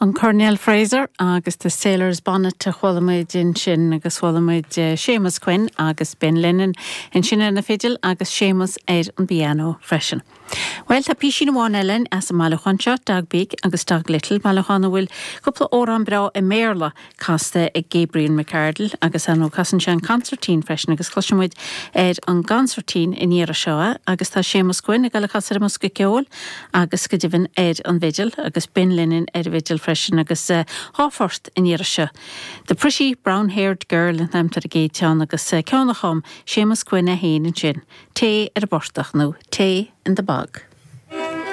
An Coirnéal Fraser agus The Sailor's Bonnet a chuala muid ansin agus chuala muid Séamus Quinn agus Ben Lennon ansin ar na fidil agus Séamus ar an bpianó freisin. Bhuel, tá písín amháin eile againn as an mbailiúchán seo, Dog Big agus Dog Little, bailiúchán a bhfuil cúpla amhrán breá i mBéarla casta ag Gabriel McArdle agus ar ndóigh casann sé an consairtín freisin agus cloisfidh muid ar an gconsairtín an iarraidh seo é agus tá Séamus Quinn ag dul a chasadh ar an mbosca ceoil agus go deimhin ar an bhfidil agus Ben Lennon ar an bhfidil freisin agus dhá phort an iarraidh seo. The Pretty Brown Haired Girl an t-ainm atá ar an gcéad cheann agus ceann a chum Séamus Quinn é féin ansin, Tae ar an bPortach nó Tay in the Bog.